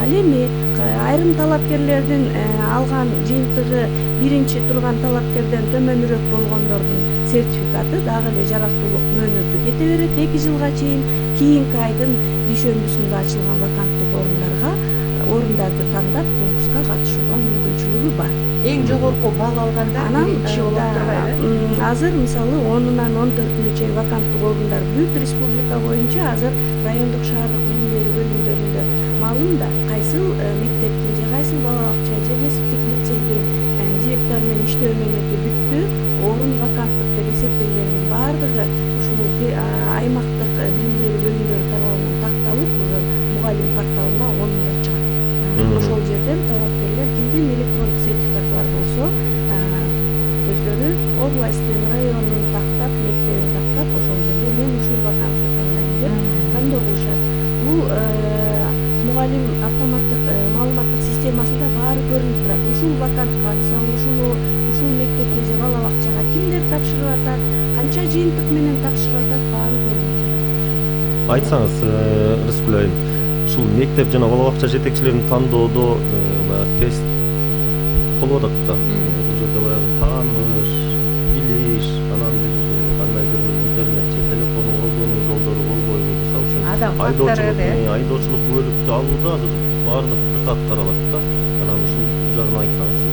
Ал эми айрым талапкерлердин алган жыйынтыгы биринчи турган талапкерден төмөнүрөөк болгондордун сертификаты дагы эле жарактуулук мөөнөтү кете берет 2 жылга чейин. Кийинки айдын дүйшөмбүсүндө ачылган ваканттык орундарды тандап конкурска катышууга мүмкүнчүлүгү бар. Эң жогорку балл алгандар биринчи болуп турбайбы? Азыр мисалы 10-нан 14-нө чейин ваканттык орундар бүт республика боюнча азыр райондук шаардык билим берүү бөлүмдөрүндө маалым да, кайсыл мектептин же кайсыл бала бакча же кесиптик лицейдин директору менен иштөө мөөнөтү бүттү, орун ваканттык деп эсептелгендин баардыгы ушул аймактык билим берүү бөлүмдөрү тарабынан такталып, мугалим порталына онунда чыгат. Ошол жерден талапкерлер кимдин электрондук сертификаты бар болсо, өздөрү областтын, райондун тактап, мектебин тактап, ошол жерге мен ушул вакантты тандайм деп тандоо кылышат. Бул мугалим автоматтык маалыматтык системасында баары көрүнүп турат. Ушул вакантка, мисалы ушул мектепке же бала бакчага кимдер тапшырып атат, канча жыйынтык менен тапшырып атат, баары көрүнүп турат. Айтсаңыз, Рыскүл айым, ушул мектеп жана бала бакча жетекчилерин тандоодо баягы тест болуп атат да. Бул жерде баягы тааныш, билиш, анан бир кандайдыр бир интернет же телефону колдонуу жолдору болбойбу? Мисалы үчүн айдоочулук бөлүктү алууда азыр баардык дыкат таралат да. Анан ушул жагын айтсаңыз.